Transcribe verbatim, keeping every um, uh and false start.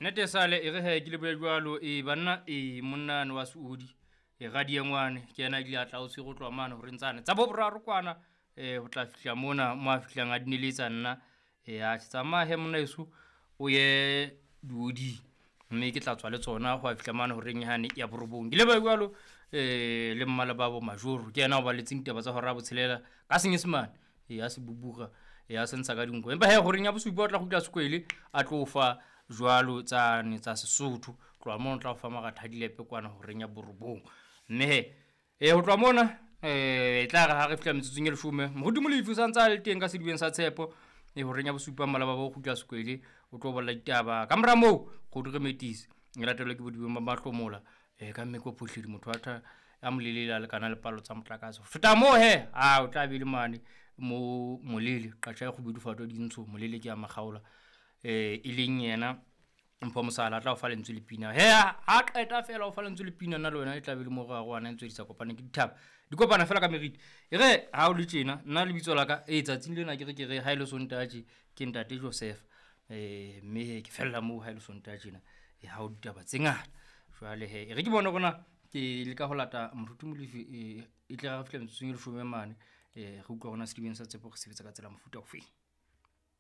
Nnete sale e re he ke lebohe jwalo e banna e monnane wa Seodi e radiengwane ke yena a ile a tla o tshwere ho tloha mane horeng tsane tsa bo boraro kwana um ho tla fihla mona mo a fihlang a dineletsa nna. E atjhe tsamaya he monna heso o ye dioding, mme ke tla tswa le tsona ho a fihla mane horeng yane ya borobong. Ke lebohe jwalo um le mmalebabo Majoro ke yena a o baletseng ditaba tsa hora ya botshelela ka senyesemane. E a se bubura, e a se ntsha ka dinko. Empa he horeng ya bosupa o tla kgutla Sekwele a tlo fa jwalo tsane tsa Sesotho. Tloha mono o tla o fa maratha a dilepe kwana horeng ya borobong. Mme he, e ho tloha mona e tla re ha re fihla metsotsong e leshome, Moruti Molefi o santse a le teng ka sedibeng sa tshepo. E horeng ya bosupa mmalebabo o kgutla Sekwele o tlo bolela ditaba. Ka mora moo, Kgodu re metisi e latelwe ke bodibeng ba mahlomola e ka mme ko phohledi motho wa tha a molelele a lekana le palo tsa motlakase. Ho feta moo he, a o tla be le mane mo Molele, qatjha e kgubedu fato dintsho, Molele ke ya makgaola. Eh e leng yena Mpho Mosala a tla o fa lentswe le pina. He ha qeta fela o fa lentswe le pina nna le wena e tla be le mo re arohana ntse di sa kopaneng ke dithaba. Di kopana fela ka meriti. E re ha o le tjena nna lebitso la ka e tsatsing lena ke re ke re ha ile Sontaha tje ke ntate Joseph. Eh mme he ke fella moo ha ile Sontaha tjena. E ha o ditaba tse ngata. Jwale he e re ke bone hore na ke leka ho lata Moruti Molefi e e tle re fihla metsotsong e leshome mane. Eh re utlwa hore na sedibeng sa tshepo re sebetsa ka tsela mofuta ofeng.